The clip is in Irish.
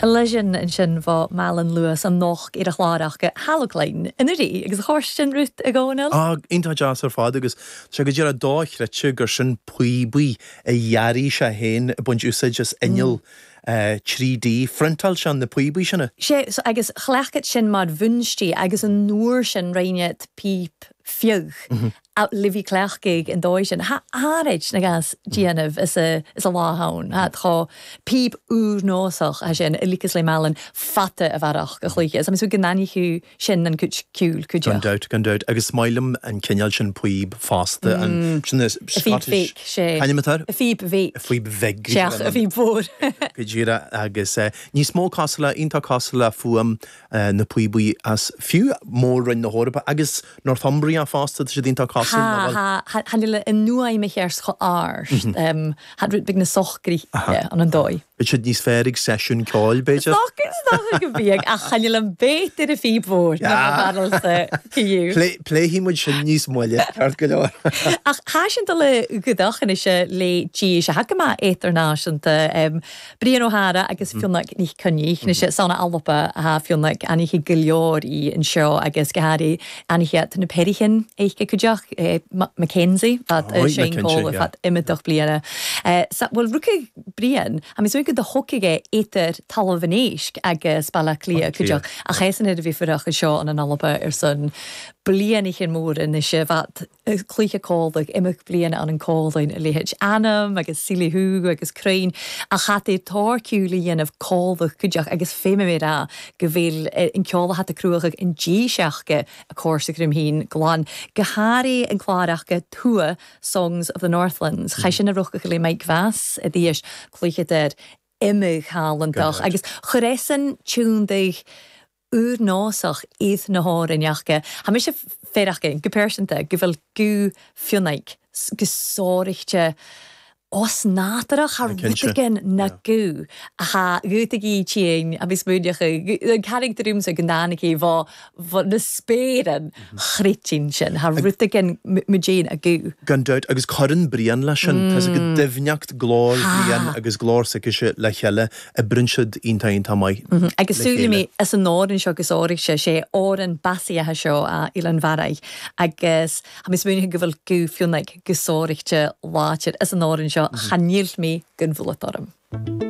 Elysian ansin bho Malan Lewis an noch ar a chlár aca Halocline anuraidh agus a chóir Ruth a Dhomhnaill. Á, iontach deas ar fad agus tá sé go díreach dochreidte gur sin píobaí a dhearaigh sé féin ag baint úsáid as inneall 3D. Phriontáil sé na píobaí sin. Sé, agus chleachtad sin mar bhunstí agus an uair sin roinnead píp fiodh le bhí cleachtaidh an dóigh sin. Tha áirid na gas déanamh is a is a lá ann. Tha tá píb úr-nósach tha sin i lícas le Malan fata a bhearach go chluiche. Is tá mé súil go n-aithneoidh sin an cuid ciúil cuid Gan dabht, gan dabht. Agus is maith liom an cineál sin píob fosta, an, sin na A phíb Scottish, bheag, sé. C'ainm atá air? A phíb bheag. A phíb bheag. Seach a phíb mhór. Go díreach agus níos mó cosúil le, iontach cosúil le fuaim na píobaí as fiú mór-roinn na hEorpa agus Northumbria fosta, tá siad iontach cosúil, nach bhfuil? Tha, tha, tha níl an fhuaim a cheart chomh ard, tha rud beag na socraithe an an dóigh. Beidh siad níos fearr ag seisiún ceoil, b'fhéidir? Is dócha go mbeidh, ach chan fhuil an bét ar a phíb mhór ná mo bharúilsa fiú. Pléifidh muid sin níos moille, ceart go leor. Ach tha sinn dul a gcuideachd anois le dís a tha go maith idirnáisiúnta. Brian Ó hEára agus Fionnag Nic Coinnich. Anois san Alba atá Fionnag, aithníodh go leor í anseo agus go háirithe aithníodh na Peirichin aici cuideachd, Mackenzie, fad Shane Cole fad imeadach bliana. Sa bhfuil rucadh Brian, a mé go do thógfaidh é idir Talamh an Éisc agus Baile Átha Cliath cuideachd ach é san ar a bhí fuireach anseo an an Alba ar son blianaithe móra anois fad cluiche códaigh, imeacht bliana ann an códain a leithéid ainm agus Síle agus crainn ach chat é táirciú le dhéanamh códach cuideach agus fé mé rá go bhfuil an ceol a hata cruachadh an díseachca a cóir sa Chroimthín glan go háirithe an clár aca Tua Songs of the Northlands. Chaith sin a rochadh le Mike Vass i dtís cluiche der imigh thalantach agus chuir eisean tiúndaigh úr-nósach iad na hÁrainn aca. Tha mise féireach go pearsanta go bhfuil guth Fionnaidh go sóireachta osnádúrach thar rud éigin na guth atá gutaigí tínn agus múineacha an carachtar úmsa go ndánaigí bho bho na spéireann chruitinn sin thar rud éigin muidéin a guth. Gan dabht, agus cuireann Brian leis sin. Tá 's agat doimhneacht glór Bhriain agus glór s'aicise le chéile Oibríonn siad iontach iontach maith le Agus súil chéile. mé as an amhrán seo agus áirigh sé sé amhrán beasaithe seo a Oileán Bharraigh agus tha mi smaoineachadh go bhfuil guth Fionnaidh go sóireachta láidir as an amhrán seo chan fhill mé gan bhualadh orm.